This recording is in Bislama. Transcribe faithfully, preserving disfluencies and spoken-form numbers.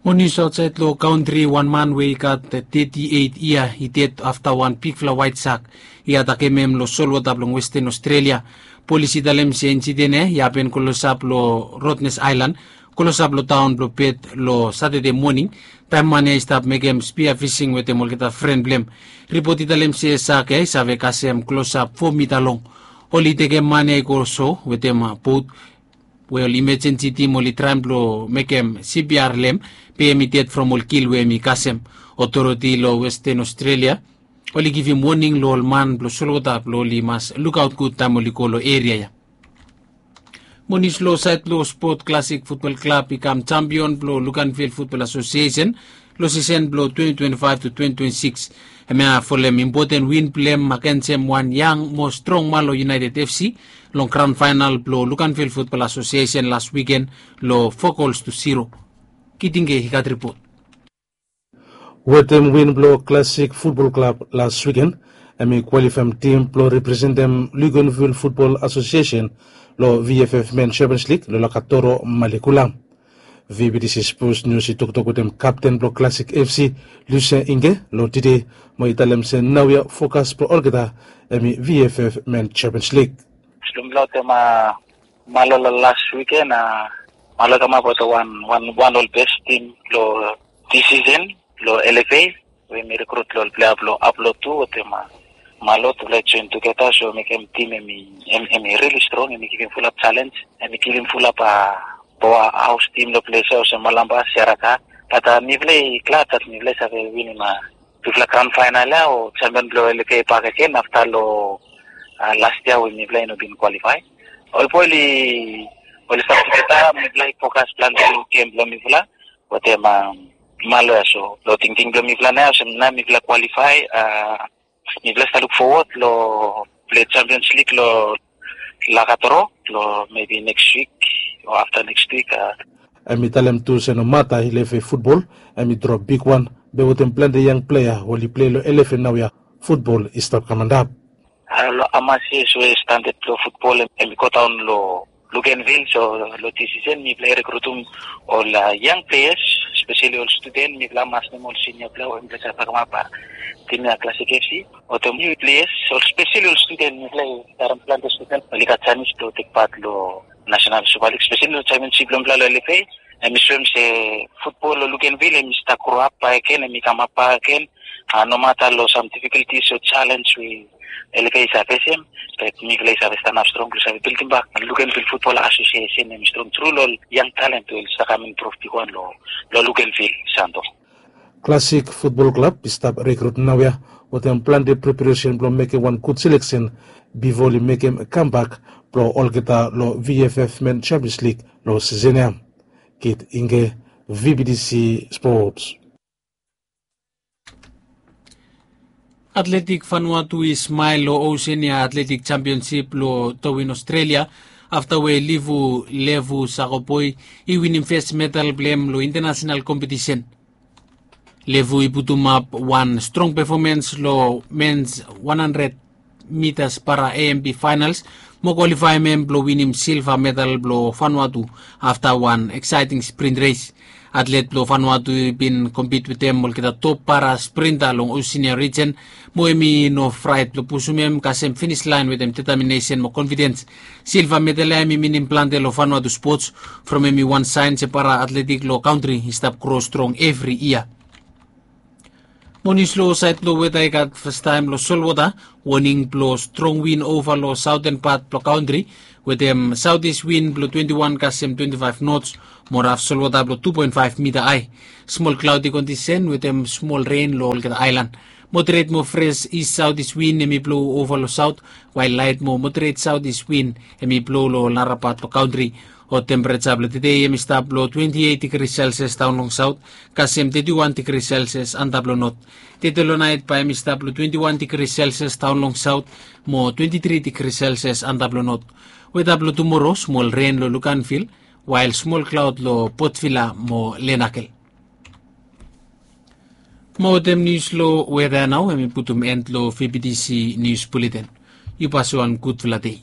Mo nius aotsaed long kantri, wan man we i gat teti eit yia i ded afta wan bigfala waet sak i atakem hem long solwota blong Westen Aostrelia. Polis i talem se insiden ya i hapen klosap long Rottnest Aelan, klosap long taon blong Pet long Satade moning, taem man ya i stap mekem spia fising wetem olgeta fren blong hem. Ripot i talem se sak ya i save kasem klosap fo mita long. Oli tekem man ya i go so wetem bot we ol imejensi tim oli traem blong mekem C P R long hem, be hem i ded from ol kil we hem i kasem. Otoriti long Westen Aostrelia oli givim woning long ol man blong solwota blong oli mas lukaot gud taem oli go long eria ya. Mo nius long saed blong spot, Klasik Futbol Klab i kam jampion blong Luganville Futbol Asosiesen long sisen blong twenti twenti faef tu twenti twenti sikis. Hemia folem impoten win blong hem agensem wan yang mo strong man long United F C long graon faenal blong Luganville Futbol Asosiesen las wiken long fo gols tu ziro. Kitinge i gat ripot. Wetem win blong Klasik Futbol Klab las wiken, hem i kwalifaem tim blong representem Luganville Futbol Asosiesen long V F F Men Champions Lik long Lakatoro, Malikula. V B T C Sports News i toktok wetem kapten blong Klasik F C, Lucia Inge, long tede mo i talem se naoia fokas blong olgeta hem i V F F Men Champions Lik. Slumla wetem a Malo long las wiken, a Malo i kamap wetem wan wan wan ol bes tim long dis sisen long L F A, we hem i rikrut long ol plea blong ap long tu wetem a Malo tufala i joen tugeta, so mekem tim hem i hem hem i rili strong, hem i givim fulap jalenj, hem i givim fulap a paoa haos tim long ples ya olsem Malampa, Seraka. Bat a mifala i glad dat mifala i save winim a tufala graon faenal ya o jampion blong L F A bakegen afta long a las yia we mifala i no bin kwalifae. Ol boe oli oli stap tugeta, mifala i fokas plante long gem blong mifala wetem a Malo ya. So long tingting blong mifala nao ya olsem nao mifala kwalifae, a mifala stap luk fowod long plei Champions League long Lakatoro long mebi neks wik o afta neks wik. A hem i talem tu se nomata L F A futbol hem i drop bigwan, be wetem plante yang plea we oli plei long L F A naoia, futbol i stap kam antap. A long hamas yias we standad blong futbol hem i godaon long Luganville, so long dis sisen mifala i rekrutum ol yang pleas, speseli ol studen, mifala mas nem ol sinia plea we mifala save kamap a tim ya Klasik F C. Wetem niu pleas, ol speseli ol studen, mifala i karem plante studen oli gat janis blong tekpat long nasenal Supa Lig, speseli long jampionsip blong mifala long L F A. Hem i soem se futbol long Luganville hem i stap groap bakegen, hem i kamap bakegen. A nomata long sam difikultis o jalenj we L F A i save fesem, bat mifala i save stanap strong blong save bildimbak Luganville Futbol Asosiesen hem i strong tru long ol yang talent we oli stap kam improv bigwan long long Luganville, Santo. Klasik Futbol Klab i stap rekrut naoia wetem plante preparesen blong mekem wan gud seleksen bifo oli mekem kambak blong olgeta long V F F Men Champions League long sisen ya. Kit Inge, V B T C Sports. Atletik Vanuatu i smael long Oseania Atletik Jampionsip long Darwin, Aostrelia, afta we Livu Levu Sakoboi i winim fes medal blong hem long intanasenal kompetisen. Levu i putumap wan strong pefomens long mens wan handred mitas para A M P faenals mo kwalifaem hem blong winim silva medal blong Vanuatu afta wan eksaeting sprint res. Atlet blong Vanuatu i bin kompit wetem olgeta top para sprinta long Oseania rijen, mo hem i no fraet blong pusum hem kasem finis laen wetem detaminesen mo konfidens. Silva medal ya hem i minim plante long Vanuatu spots, from hem i wan saen se para atletik long kantri i stap gro strong evri yia. Mo nius long saed blong weta i gat fastaem long solwota, woning blong strong win ova long saoten pat blong kantri, wetem saotis win blong twenti wan kasem twenti faef nots, mo raf solwota blong tu poen faef mita hae. Smol klaodi kondisen wetem smol ren long olgeta aelan. Moderet mo fres is saotis win hem i blo ova long saot, wael laet mo moderet saotis win hem i blo long ol nara pat blong kantri. Hot tempereja blong tede hem i stap long twenti eit digri selsias daon long saot, kasem teti wan digri selsias antap long not. Tede long naet bae hem i stap long twenti wan digri selsias daon long saot, mo twenti tri digri selsias antap long not. Weta blong tumoro, smol ren long Luganvil, wael smol klaod long Potvila mo Lenakel. Mo wetem nius long weta ya nao hem i putum en long V B T C Nius Buleten. Yu pasa wan gudfala dei.